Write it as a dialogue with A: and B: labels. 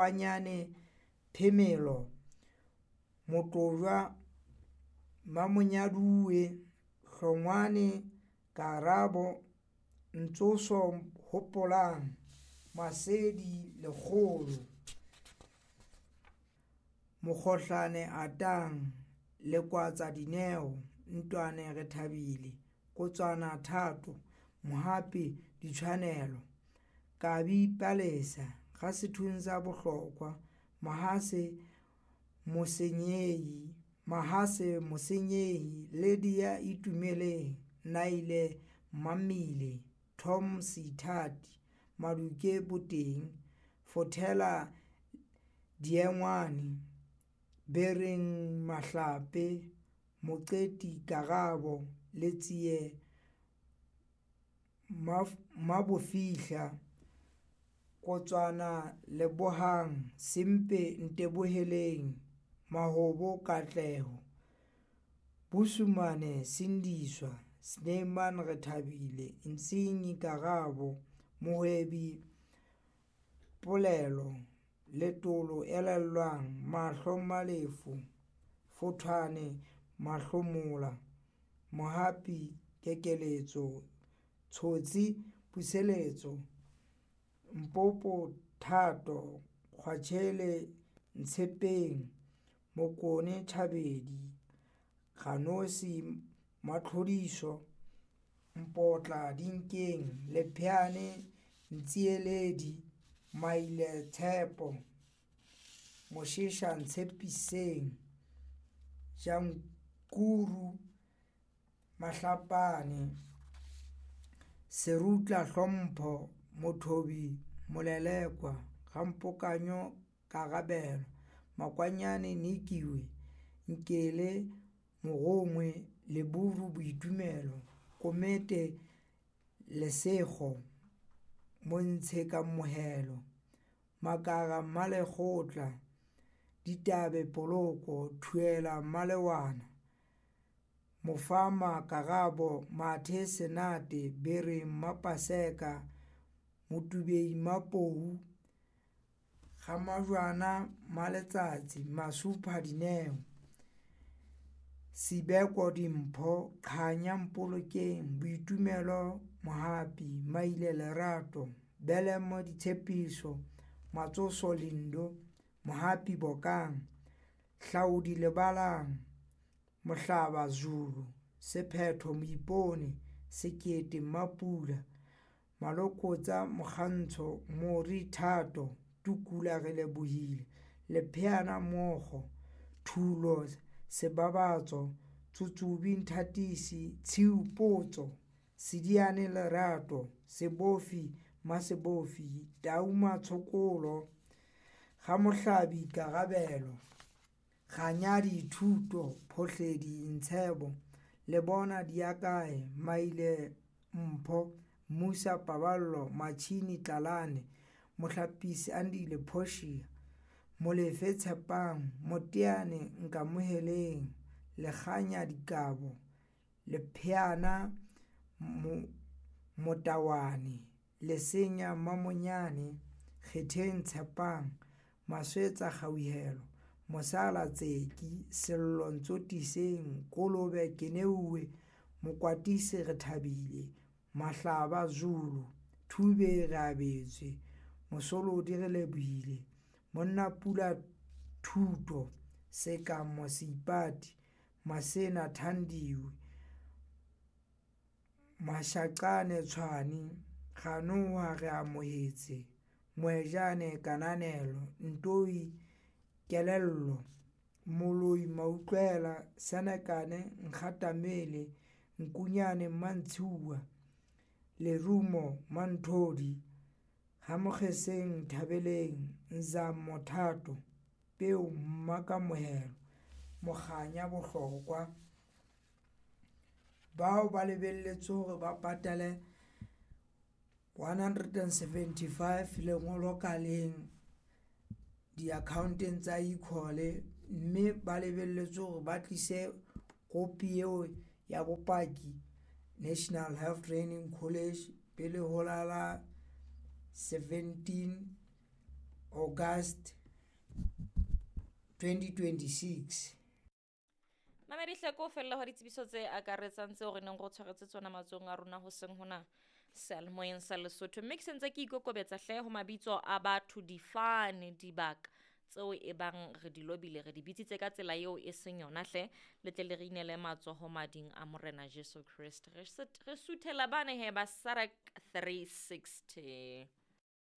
A: Mabanyane Phemelo, Motlojwa Mmamonyaduwe, Hlongwane Karabo, Ntsoso Hopolang, Masedi Lekgolo, Mokgohlane Atang, Lekwatsa Dineo, Ntwane Rethabile, Kotswana Thato, Mohapi Ditshwanelo, Kabi Palesa, Gasethuntsa Bohlokwa, Mahase Mosenyehi, Mahase Mosenyehi, Lydia Itumeleng, Naile Mmamile, Tom Seithati, Maduke Boteng, Fothela Diengwane, Bereng Mahlape, Moqeti Karabo, Letsie Mabofihla, Kotswana Lebohang, Sempe Nteboheleng, Mahobo Katleho, Busumane Sindiswa, Snyman Rethabile, Ntsinyi Karabo, Mohwebi Polelo, Letolo Elelwang, Mahlo Malefu, Fothwane Mahlomola, Mohapi Kekeletso, Tshotsi Puseletso, Mpopo Thato, Kgwatshele Ntshepeng, Mokone Thabedi, Ganosi Matlhodiso, Mpotla Dinkeng, Lepheane Ntsieledi, Maile Tshepo, Mosheša Ntshepiseng, Jankuru Mahlapane, Serutla Hlompho, Mothobi Molelekwa, Gampokanyo Karabelo, Makwanyane Nikiwe, Nkele Mogongwe, Leburu Boitumelo, Komete Lesego, Montshe Kamohelo, Makara Mmalekgotla, Ditabe Poloko, Thuela Mmalewana, Mofama Karabo, Mathe Senate, Bereng Mapaseka, Motubei Mapou, Gamajwana Maletsatsi, Masupha Dineo, Sibeko Dimpho, Kganya Mpolokeng, Boitumelo Mohapi, Maile Lerato, Belemo Ditshepiso, Matsoso Lindo, Mohapi Bokang, Hlaudi Lebalang, Mohlaba Zulu, Sephetho Moipone, Sekete Mmapula, Malokotsa Mokgantsho, Mori Thato, Tukula Relebohile, Lepheana Mogo, Thulo Sebabatso, Tsutsubi Nthatisi, Tshiu Potso, Sediane Lerato, Sebofi Masebofi, Tau Matshokolo, Gamohlabi Karabelo, Ganyadi Thuto, Phohledi Ntshebo, Lebona Diakae, Maile Mpho, Musa Paballo, Machini Tlalane, Mohlapisi Andile Portia, Molefe Tshepang, Moteane Nkamoheleng, Lekganya Dikabo, Lepheana Motawane, Lesenya Mamonyane, Kgetheng Tshepang, Maswetsa Kgauhelo, Mosala Tseki, Sello Ntsotiseng, Kolobe Keneuwe, Mokwatisi Rethabile, Mahlaba Zulu, Thube Reabetswe, Mosolodi Relebohile, Monnapula Thuto, Sekamo Seipati, Masena Thandiwe, Mashaqane Tshwane, Ganoha Reamohetse, Moejane Kananelo, Ntoi Kelello, Moloi Mautlwela, Senekane Nkgatamele, Nkunyane Mmantshiuwa, Lerumo Manthodi, Gamokgeseng Nthabeleng, Nzamo Thato, Peo Mmakamohelo, Mokganya Bohlokwa. Bao ba lebelletswe hore ba patale 175 lengolo ka leng di-accounteng tsa e-call, mme ba lebelletswe hore ba tlise kopi eo ya bopaki National Health Training College pele ho la 17. August 2026.
B: Mamedi hleko o fella hwa ditsebiso tse akaretsang tseo re neng re o tshwaretse tsona matsohong a rona hoseng hona seyalemoyeng sa Lesotho. Mme ke sentse ke ikokobetsa hle ho mabitso a batho, difane, dibaka tseo e bang re di lobile, re di bitsitse ka tsela eo e seng yona hle, le tle le re inele matsoho mading a Morena Jesu Kreste. Re suthela bane he ba Sarak 360.